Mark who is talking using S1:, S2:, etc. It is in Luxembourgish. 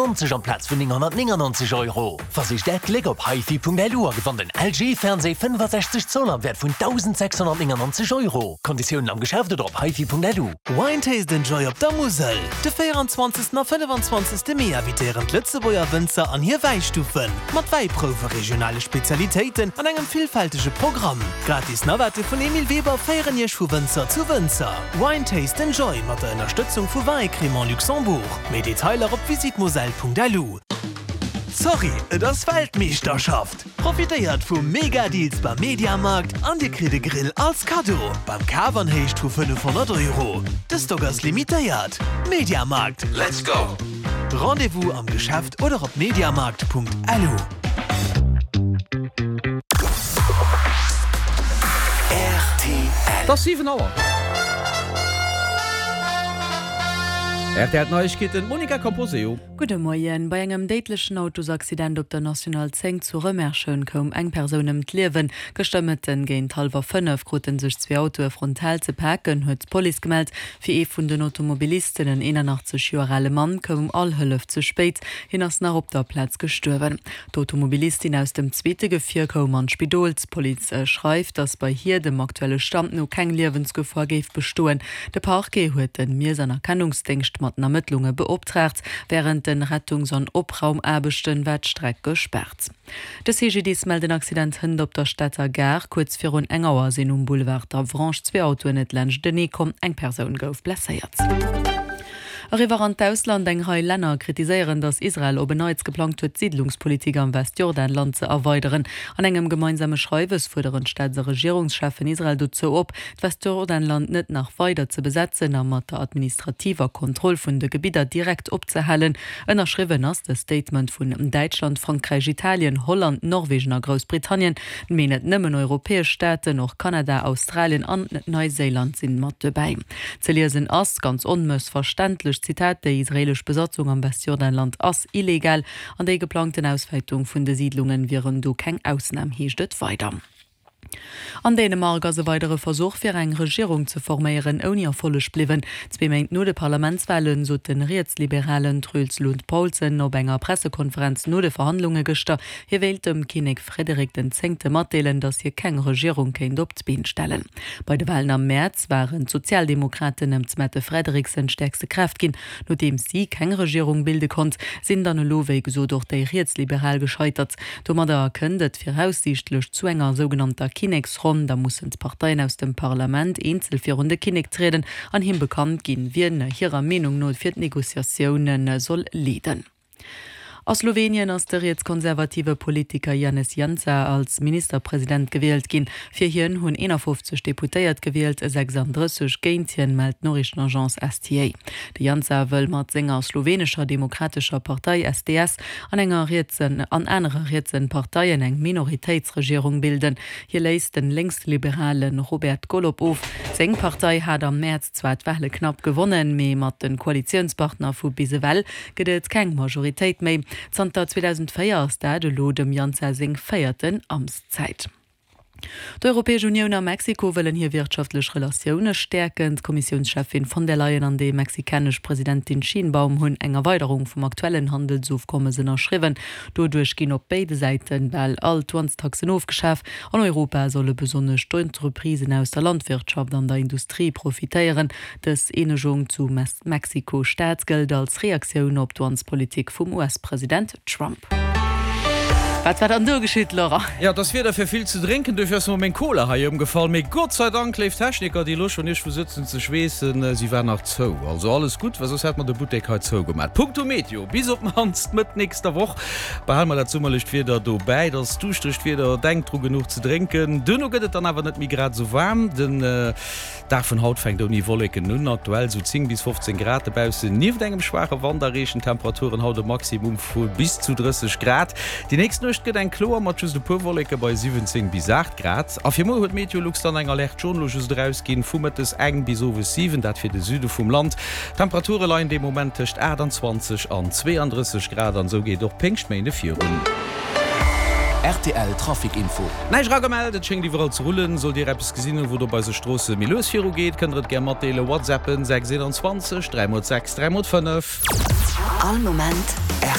S1: 90 amplaz vun 999 Euro. Versicht Äert Gléck op hifi.lu a gewannt en LG Fernseh 65 Zoll am Wäert vun 1.699 Euro. Konditiounen am Geschäft oder op hifi.lu.
S2: Wine Taste and Joy op der Musel! De 24. a 25. Mee invitéieren d'Lëtzebuerger Wënzer an hir Wäistuffen, mat Wäiprouwe, regionale Spezialitéiten an engem villfältege Programm. Gratis Navette vun Emile Weber féieren Iech vu Wënzer zu Wënzer. Wine Taste and Joy mat der Ënnerstëtzung vu Vin et Crémant Luxembourg. Méi Detailer op visitmoselle.lu. Sorry, et ass Weltmeeschterschaft! Profitéiert vu mega Deals beim Mediamarkt an dir kritt e Grill als Kaddo beim Kaf an Héicht vu 500 Euro. De Stock ass limitéiert. Mediamarkt, let's go! Rendez-vous am Geschäft oder op mediamarkt.lu.
S3: Et ass 7 Auer. Rtl Neiegkeeten, d'Monica Camposeo.
S4: Gudde Moien. Bei engem déidlechen Autosaccident op der National 10 zu Rëmerschen koum eng Persoun ëm d'Liewen. Gëschter Mëtten géint hallwer 5 krute sech zwee Autoe frontal ze paken, huet d'Police gemellt. Fir ee vun den Automobilisten, en 81 Joer ale Mann, koum all Hëllef ze spéit. Hien ass nach op der Plaz gestuerwen. D'Automobilistin aus dem zweete Gefier koum an d'Spidol. D'Police schreift, datt bei hir dem aktuelle Stand no keng Liewensgefor géif bestoen. De Parquet huet de Miess an Erkennungsdéngscht mat den Ermëttlunge beoptraagt. Wärend de Rettungs an Opraumaarbechten war d'Streck gespaart. De CGDIS mellt en Accident hënt op der Stater Gare. Kuerz virun eng Auer sinn um Boulevard d'Avranches zwee Autoen net laanschtenee komm. Eng Persoun gouf blesséiert. Eriwwer an d'Ausland, Eng Rei Länner kritiséieren, datt Israel op en Neits geplangt huet, d'Siidlungspolitik am Westjordanland ze erweideren. An engem gemeinsame Schreiwes fuerderen d'Staats a Regierungscheffen Israel dozou op, d'Westjordanland net nach weider ze besetzen a mat der administrativer Kontroll vun de Gebidder direkt opzehalen. Ënnerschriwwen ass de Statement vun Däitschland, Frankräich, Italien, Holland, Norwegen a Groussbritannien. Mee net nëmmen europäesch Staaten, och Kanada, Australien an Neiséiland sinn mat dobäi. Ze liesen ass, ganz onmëssverständlech, Zitat, Déi israelesch Besatzung am Westjordanland ass illegal an déi geplangten Auswäitung vun de Siidlungen wieren do keng Ausnam, heescht et weider. An Dänemark ass e weidere Versuch fir eng Regierung ze forméieren ouni Erfolleg bliwwen. Zwee Méint no de Parlamentswale sot de rietsliberalen Truls Lund Poulsen op enger Pressekonferenz no de Verhandlunge gëschter, hie wéilt dem Kinnek Frederik den Zéngte matdeelen, datt hie keng Regierung kéint op d'Been stellen. Bei de Walen am Mäerz waren d'Sozialdemokraten ëm d'Mette Frederiksen stäerkste Kraaft ginn. Nodeems si keng Regierung bilde konnt, sinn dann elo wéi gesot och déi Rietsliberal gescheitert. Domadder kënnt et viraussiichtlech zu enger sougenannter Kinneksronn. Da mussen d'Parteien aus dem Parlament eenzel virun de Kinnek trieden an him bekannt ginn, wien hirer Meenung no fir d'Negociatioune soll leeden. A Slowenien ass de rietskonservative Politiker Janez Jansa als Ministerpresident gewielt ginn. Fir hien hunn 51 Deputéiert gewielt, 36 géint hien, mellt d'Noriichtenagence STA. De Jansa wëll mat senger Slowenescher Demokratescher Partei, SDS, an enger rietsen an anere rietsen Parteien eng Minoritéitsregierung bilden. Hie léist den lénksliberale Robert Golob of. Seng Partei hat am Mäerz zwar d'Wale knapp gewonnen, mee mat de Koalitiounspartner vu bis ewell gëtt et keng Majoritéit méi. Zanter 2004 ass dat elo dem Jansa seng véierten Amtszäit. D'Europäesch Unioun a Mexiko wëllen hir wirtschaftlech Relatioune stäerken. D'Kommissiounscheffin von der Leyen an déi mexikanesch Presidentin Sheinbaum hunn eng Erweiderung vum aktuellen Handelsofkommes ënnerschriwwen. Doduerch ginn op béide Säite bal all d'Douanestaxen ofgeschaf. An Europa solle besonnesch d'Entreprisen aus der Landwirtschaft an der Industrie profitéieren. Dës Eenegung zu Mexiko-Stad gëllt als Reaktioun op d'Douanespolitik vum US-President Trump. Wat war dann do geschitt, Laurent?
S3: Jo, et ass Wieder fir vill ze drénken, duerfir ass mer meng Cola hei ëmgefall. Mee Gott sei Dank, léif Techniker, déi elo schonn iergendwou sëtzen ze schweessen, si war nach zou. Also alles gutt, well soss hätt mer de Buttek hei zougemat. Punkto Meteo, bis op d'mannst Mëtt nächster Woch behale mer dat summerlecht Wieder dobäi. Et ass duuschteregt Wieder, denkt dru genuch ze drénken. Duerno gëtt et dann awer net méi grad esou waarm. Den. Dag vun haut fänkt ouni Wolleken un, aktuell sou 10 bis 15 Grad dobaussen. Nieft engem schwaache Wand erreechen d'Temperaturen haut e Maximum vu bis zu 30 Grad. Déi nächst Nuecht gëtt eng kloer mat just e puer Wolleke bei 17 bis 8 Grad. A fir muer huet Meteolux dann eng Alerte jaune lo just erausginn, vu mëttes eng bis owes 7, dat fir de Süde vum Land. D'Temperature leien de Moment tëscht 28 an 32 Grad an esou geet och Péngschtméinde virun.
S1: Rtl Trafic Info.
S3: Näischt eragemellt, et schéngt iwwerall ze rullen. Sollt Dir eppes gesinn hunn, wou et op eise Stroosse méi lues viru geet, kënnt Der et gär matdeelen. Whatsappen 6 21 3 x 6 3 x 5.
S5: All Moment.